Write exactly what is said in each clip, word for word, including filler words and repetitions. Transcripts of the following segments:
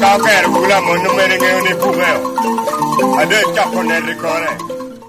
Okero bula mon omene ŋeo ni bukeo. Ade coko net i kore.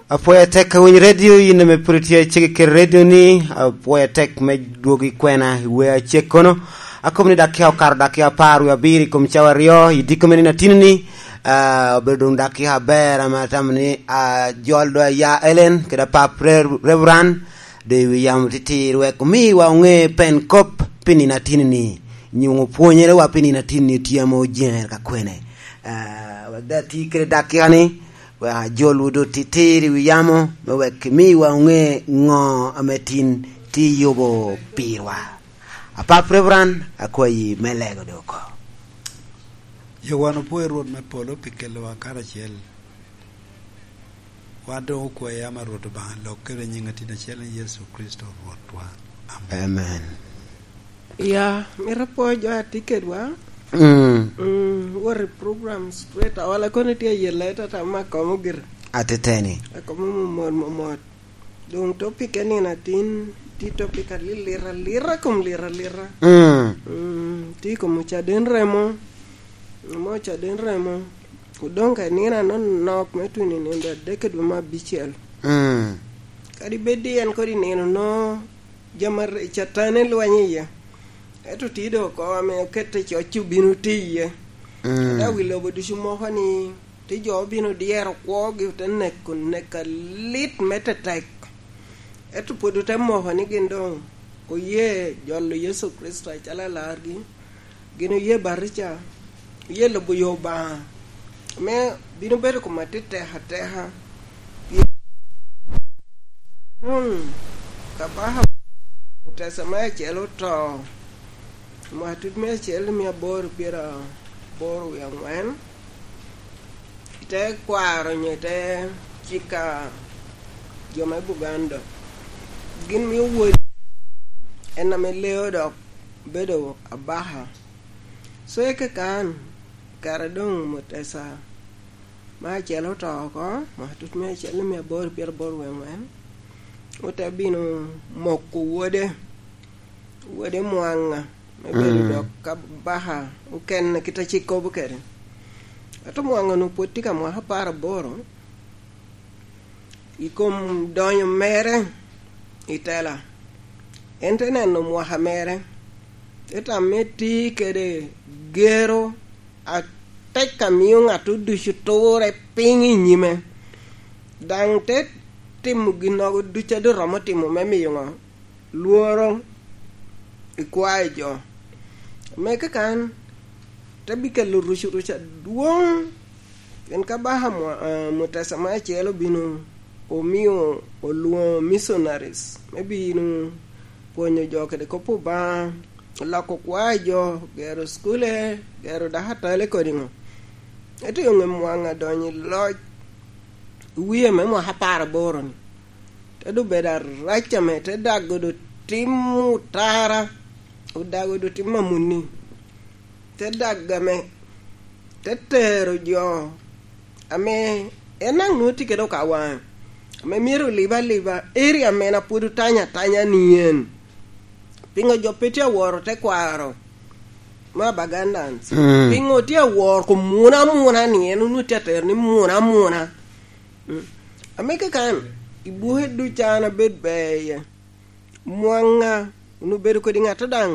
Apwoyo atek ka winy redio, yin ame pwod itye acege kede redio ni, apwoyo atek me dwogo i kwena i wea acek kono. Akobo ni dakika okato dakika apar wie abiro i kom cawa aryo, i diko me nino atino ni, ah, obedo doŋ dakika aber ame atamo ni, ah, jol do aya Ellen kede apap Re-, Reverend, do i wi yamo titir wek omiwa oŋe pen kop pi nino atino ni, nyo oŋo pwonyere wa pi nino atino ni tye ame ojeŋere ka kwene. Ah, wek da ti kede dakika ni, wek ajolwu doŋ titir i wi yamo, me wek imiwa oŋe ŋo ame tin tye yubo pirwa. Apap Reverend, akwayi me lego doŋ oko. Yo wan opwoyo Rwot me polo pi kelowa karacel. Wan doŋ okwayi ama Rwot Obaŋa lok kede nyiŋ atin acel ni Yecu Kricito Rwotwa. Amen. Amen. Ya, mito apwo jo a tye kedwa. Mm. Mm, wot i program straight. Awala kono tye ayelle tata ma komo gire. Ateteni. Akomo momot momot. Doŋ topic enino atin, tye topic alilit alita kom lit alita. Mm. Mm, tye i kom ocaden remo. Mo ocaden remo. Odoŋ ka nino anonok me tuno i nino adek i dwe me abicel. Mm. Kadi bed ni en kodi nino no, jami ar-, Catan elweny iye. Ento tye doŋ oko ame okette coc obino tye iye. Mm. Ata wi lobo ducu moko ni, tye jo obino dyero kwogi, ote neko, neko alit me tetek. Ento pwod ote moko ni gin doŋ oye jolo Yecu Kricito acalo alargi, gin oye batija, oye lubo yo Obaŋa, ame bino bedo kom atit tek ateka. Doŋ, kabaka Mutesa me acel oto, mwaka tut me acel mia aboro pyeraboro wie aŋwen, i te kwaro nyo i te cika jo me Buganda, gin mio wod en ame leo dok bedo abaka. So, eke kan, kare doŋ Mutesa me acel oto oko, mwaka tut me acel mia aboro pyeraboro wie aŋwen, ote bino moko wode, wode Mwaŋa, me bedo, mm, dok kabaka okene kit a cik kobo kede. Ento Mwaŋa onwoŋo pwod tye ka mwaka apar aboro, i kom donyo mere i tela. En te neno mwaka mere, te tamme tye kede gero atek a mio ŋat ducu turre piny i nyime, daŋ te timo ginnogo ducu a doŋ romo timo me miyo ŋo? Lworo i kwayo jo. Me kakan, te bikelo rucuruc adwoŋ, pien kabaka Mwa-, eh, Mutesa me acel obino, omio olwoŋo missionaries me bino pwonyo jo kede kop Obaŋa, loko kwayo jo, gero cukule, gero dakatale kodi ŋo. Ento i ŋe Mwaŋa donyo i loc, i wie me mwaka apar aboro-ni, te doŋ bedo arac ame te dago doŋ tim otara, odago doŋ tim amuni, te dago ame te tero jo ame en daŋ nwoŋo tye kede okawaŋe, ame myero olib aliba, area ame en a pwod otanyo atanya ni en. Piŋo jo pe tye aworo tekwaro me Abagandans? Mm. Piŋo tye aworo kom muna amuna ni en onwoŋo tye atero ni muna amuna? Mm. Ame kakan, i buke ducu an abedo ber iye. Mwaŋa onwoŋo bedo kodi ŋat daŋ,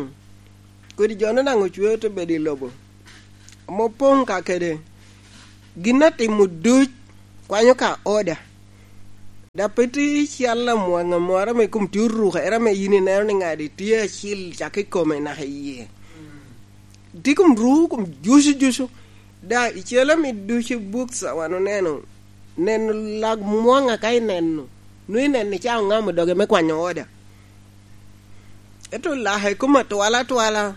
kodi jo-nu daŋ ocweo te bedo i lobo. Ame opoŋ ka kede gin atimo duc kwanyo ka oda. Dok pe tye cal amwaŋa moro ame kom tye orukere ame yin ineno ni ŋadi tye acil cak i kome naka i yie. Tye kom ru, kom jucu jucu. Da, i cal ame ducu i buk ca wan oneno, neno lak mwaŋa ka ineno, nwoŋo ineno ni ca oŋamo doge me kwanyo oda. Ento lake kom atwala atwala,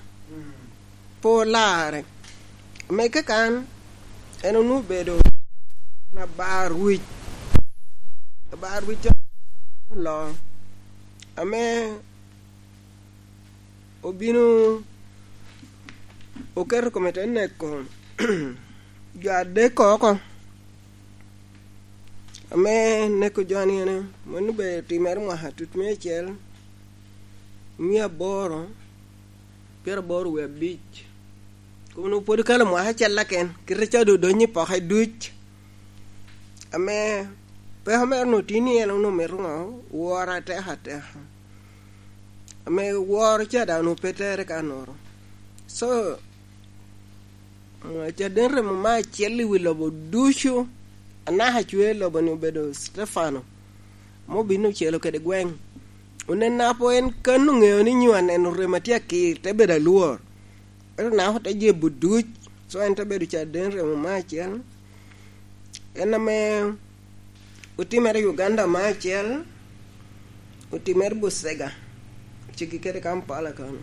pe olarre. Ame kakan, en onwoŋo obedo abar wic. Abar wic oloo. Ame obino oketo kome te neko jo adek oko. Ame neko jo-ni ene, mano obedo timere mwaka tut me acel, mia aboro, pyeraboro wie abic. Kun pwod kalo mwaka acel aken, kite ca doŋ odonyo i poke duc. Ame peko mere onwoŋo tye ni en onwoŋo mito ŋo? Woro atek ateka. Ame woro ca daŋ onwoŋo pe tere ka noro. So, mwaka caden remo me acel i wi lobo ducu, anaka cwer lobo-ni obedo Stefano, ame obin ocelo kede gweŋ. Onen apo en kan oŋeo ni nyo aneno remo atye akir, te bedo alwor. Ento naka ote jebo duc, so en te bedo caden remo me acel. En ame otimere i Uganda me acel, otimere Busega, ceggi kede Kampala kano.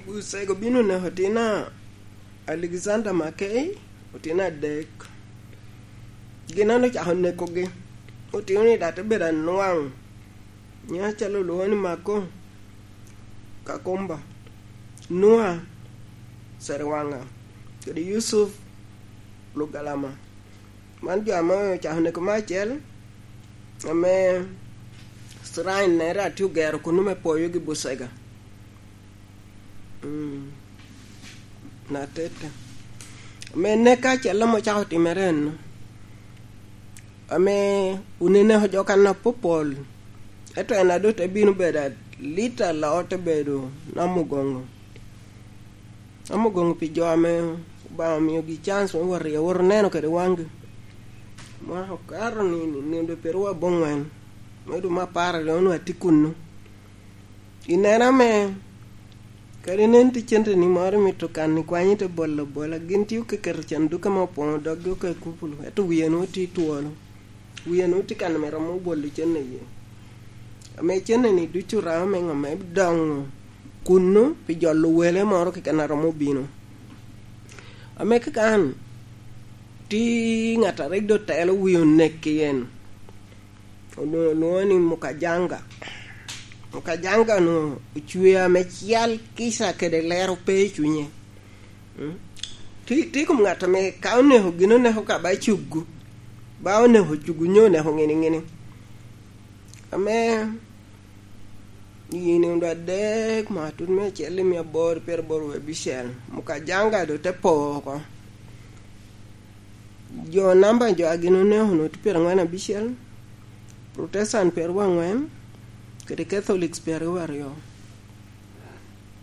Busega obino oneko otina Alexander Mackay, otina adek. Gin an ocako nekogi, otino ni daŋ te bedo anwaŋ. Nyiŋ acalo olwoŋo ni Mako Kakumba, Nua Seriwaŋa, kede Yusuf Lugalama. Man jo ame ocako neko me acel, ame shrine nere atye ogero kuno me poyogi Busega. Mm. Na tete. Ame nek acel ame ocako timere en, ame onene jo kan apopol, ento en a doŋ te bino bedo alit aloo, te bedo Namugongo. Namugongo pi jo ame Obaŋa omiogi cance me wot i, wot oneno kede waŋgi. Mwaka okato ni, ni, ni doŋ pyeraryo aboŋwen, me dwe me apar aryo onwoŋo atye kuno. I neno ame, kadi nen tye cente ni moro imito kan i kwanyi te bolo abola, gin tye okeketo canduke ame opoŋo doggi oko i kupulu, ento wie nwoŋo tye twolo. Wie nwoŋo tye kan ame romo bolo cente iye. Ame cente ni ducu oramo me ŋo? Me doŋo kuno pi jolo wele moro keken a romo bino. Ame kakan, tye ŋat a rik doŋ telo wie onek i en. Onwoŋo olwoŋo ni Mukajanga. Mukajanga-nu ocweo ame cal kica kede lero pe i cunye. Mm. Tye, tye i kom ŋat ame ka oneko gin oneko ka ba cugu, ba oneko cugu nyo oneko ŋini ŋini. Ame i nindo adek mwaka tut me acel i mia aboro pyeraboro wie abicel, Mukajanga doŋ te po oko. Jo namba jo a gin oneko onwoŋo tye pyerangwen abicel, Protestant pyeraryo aŋwen, kede Catholics pyeraryo aryo.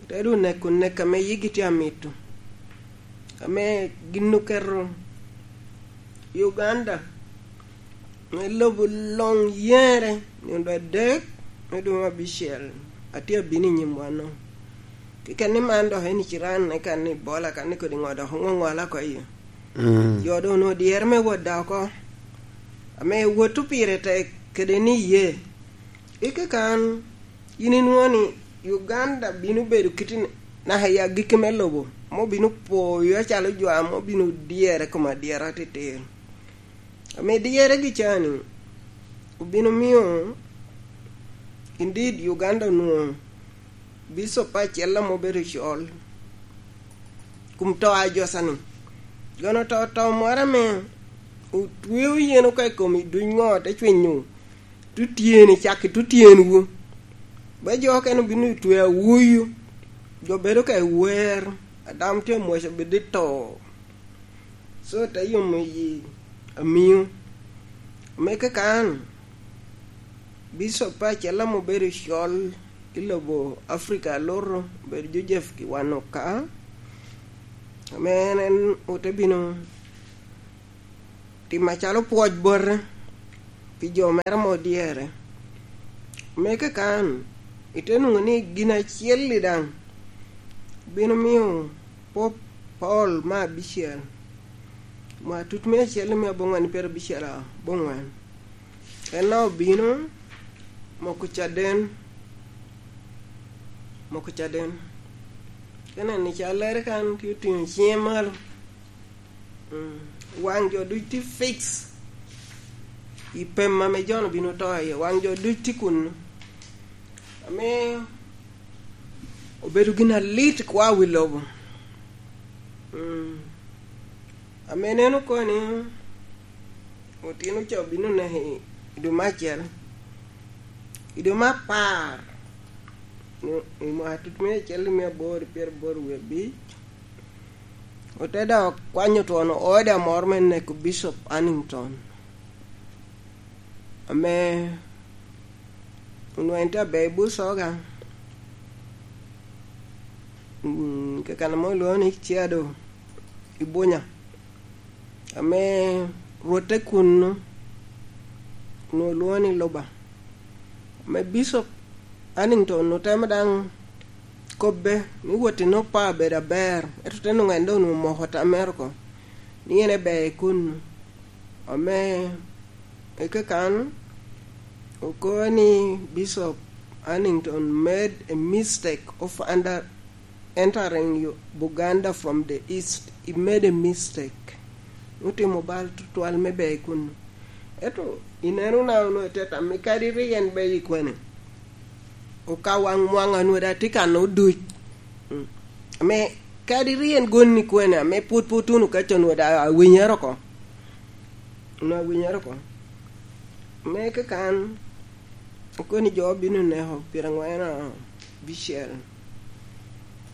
Te doŋ neko nek ame yigi tye amito, ame gin oketo Uganda me lobo loŋ yere nindo adek me dwe me abicel, atye abino i nyim wano. Keken ni man dok en i ciran, eka ni bola, ka ni kodi ŋo dok oŋoŋola oko iye. Mm. Jo doŋ onwoŋo dyere me wot da oko, ame wot pire tek kede ni iye. I kakan, yin inwoŋo ni Uganda bino bedo kit i naka i agikki me lobo, ame obino poyo acalo jo ame obino dyere kom adyera atir. Ame dyeregi ca-ni obino mio, indeed, Uganda onwoŋo bicop acel ame obedo col kun to a Ajosa-ni. Gin oto to moro ame otweo yen oko i kom i duny ŋo, te cwinyo tutyeni, cak i tutyenwu. Ba jo okene obino i twe awuyu, jo bedo ka i wer, adam tye amwoc obed i to. So, te yomo yi amio. Me kakan, bicop acel ame obedo col i lobo Africa aluto, obedo Joseph Kiwanuka. Ame en, en ote bino timo acalo pwoc bote pi jo mere ame odyere. Me kakan, ite nwoŋo ni gin acel-li daŋ bino mio Pope Paul me abicel, mwaka tut me acel i mia aboŋwen pyerabicel aboŋwen, en daŋ obino moko caden, moko caden. Ka ineno i callere kan, tye otiŋo ciŋe malo. Mm. Waŋ jo duc tye fix i pem ame Jon obino to iye. Waŋ jo duc tye kunnu. Ame obedo gin alit kwa wi lobo. Mm. Ame neno koni, otino ca obino neko i, i dwe me acel. I dwe me apar, i, i mwaka tut me acel i mia aboro pyeraboro wie abic, Ote dok kwanyo twon order moro me neko Bishop Hannington, ame onweno tye aber i Busoga, mm, keken ame olwoŋo ni Ciado i Bunya, ame rwotte kunnu onwoŋo lwoŋo ni Luba, ame Bishop Hannington otemo daŋ kobbe ni wot i Nupa bedo aber, ento te nwoŋo en doŋ onwoŋo omoko tam mere oko, ni en eber i kunnu. Ame i kakan okobo ni Bishop Hannington made a mistake of under, entering Yo-, Buganda from the east. He made a mistake. Otimo bal tutwal me ber i kunnu. Ento ineno na onwoŋo ite tam, kadi rik en ber i kwene, okaw waŋ mwaŋ anwoŋo daŋ tye kan oduc. Mm. Ame kadi rik en gonni kwene, ame pwod pe otuno kaca onwoŋo daŋ awinyere oko. Onwoŋo awinyere oko. Me kakan, okoni jo bino neko pyerangwen abicel.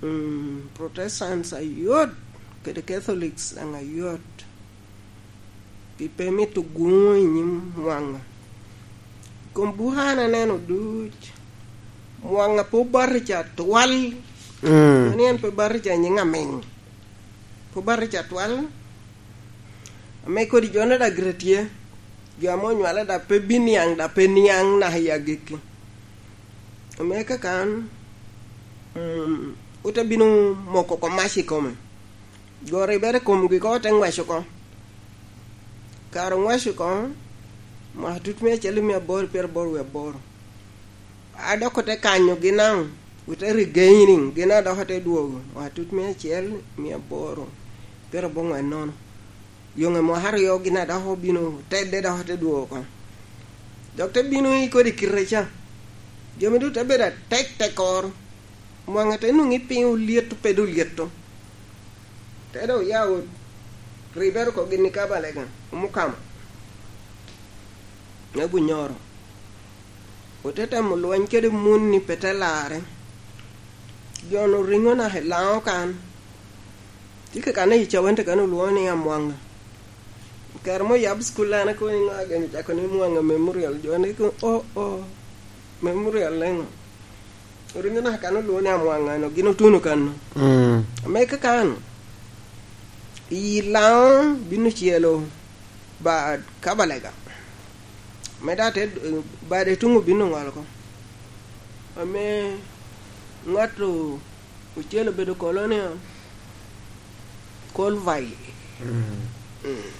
Mm, Protestants ayot, kede Catholics daŋ ayot. Pi pe mito guŋo i nyim mwaŋa. Kom buka an aneno duc, mwaŋa pe obatica twal. Mm. Ni en pe batica i nyiŋ amiŋ. Pe obatica twal. Ame kodi jo ne daŋ gire tye, jo ame onywale daŋ pe biniaŋ, daŋ pe niaŋ naka i agikki. Ame kakan, mm, ote bino moko oko mac i kome. Goro ibere i komgi oko, te ŋwec oko. Kare oŋwec oko, mwaka tut mia acel i mia aboro pyeraboro wie aboro. A dok ote kanyo gin daŋ, ote regaining, gin a dok ote dwogo, mwaka tut mia acel mia aboro pyeraboro ŋwen nono. Yoŋe mwaka aryo gin a dok obino, tedde dok ote dwogo oko. Dok te bino i kodi kite ca. Jami duto te bedo atek tekoro. Mwaŋe te nwoŋi piny olyeto, pe doŋ olyeto. Te dok oya ot, ribere oko gin i Kabalega, Omukama, me Bunyoro. Ote temo lweny kede mun ni pe te larre. Jo-nu riŋo naka i Laŋo kan. Tye kekane i Cawente kan olwoŋo ni Amwaŋa. Kare mo yab cukul an akobo ni ŋo agen ocako ni Mwaŋa Memorial, jo ni ko, "Oh, oh, Memorial leŋo?" Oringo naka kan olwoŋo ni Amwaŋa, no gin otuno kan. Mm. Ame kakan, i Laŋo bino celo bad Kabalega. Me da te, bade tuŋ obino ŋolo oko. Ame ŋat o-, ocel obedo kolo ni, Kolvai. Mm. Mm.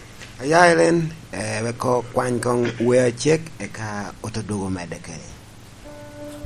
Aya Elen, eh, wek okwany koŋ wer acek, eka ote dwogo medde kede.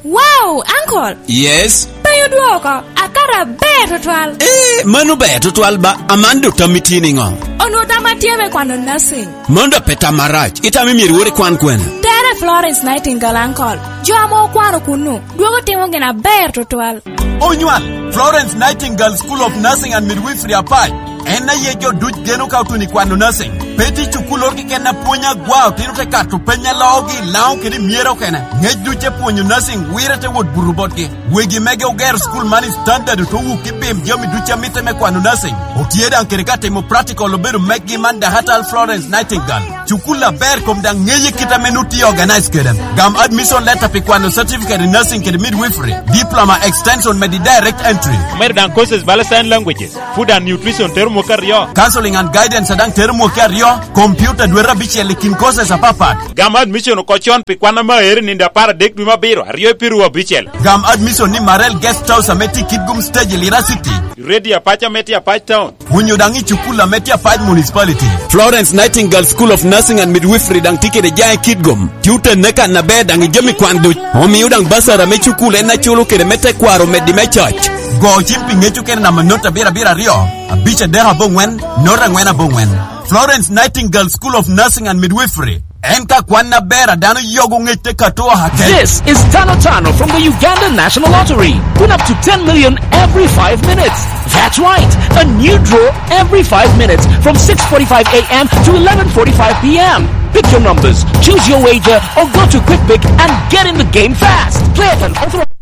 Wow, uncle! Yes? Pe odwoko, akato aber tutwal. Eh, mano ber tutwal ba, aman dok tam itye niŋo? Onwoŋo tam atye me kwano nursing. Mano dok pe tam arac, itam imyero iwot ikwan kwene? Tere Florence Nightingale, uncle. Jo ame okwano kunnu, dwogo timo gin aber tutwal. Onywal, Florence Nightingale School of Nursing and Midwifery Apac. En aye jo duc geno ka otuno i kwano nursing. Pe tye cukul oro keken a pwonyo agwa, otino te kato peny a loogi i Laŋo kede i Myere okene. Ŋec duc te pwonyo nursing, wire te wot buto botgi. Wegi mege ogero cukul man i standard, ote wuk i pim jami duc a mitte me kwano nursing. Otye daŋ kede ka timo practical obedo meggi man Dakatal Florence Nightingale. Cukul aber kom daŋ ŋeye kit ame nut tye organize kede. Gam admission letter pi kwano certificate in nursing kede midwifery, diploma extension med i direct entry. Omedo daŋ courses bala sign languages, food and nutrition tero mwaka aryo. Counseling and guidance daŋ tero mwaka aryo, computer dwete abicel i kin courses apapat. Gam admission oko con pi kwan ame aero i nino apar adek dwe me abiro, aryo i piru abicel. Gam admission ni Marel Guest House ame tye i Kitgum Stage i Lira City. Radio Apac ame tye Apac Town. Onyo daŋ i cukul ame tye Apac Municipality. Florence Nightingale School of Nursing and Midwifery daŋ tye kede jaŋ i Kitgum. Tye otenne kan aber daŋ i jami kwan duc. Omio daŋ basara me cukul en aculo kede me tekwaro omeddi me coc. Go cim pi ŋec okene namba not abiro abiro aryo, abic adek aboŋwen, not angwen aboŋwen. Florence Nightingale School of Nursing and Midwifery. En ka kwan aber a dano yogo ŋec te kato oha kec. This is Tano Tano from the Uganda National Lottery. Win up to ten million every five minutes. That's right, a new draw every five minutes from six forty-five a m to eleven forty-five p m. Pick your numbers, choose your wager, or go to QuickPick and get in the game fast. Play at an authorized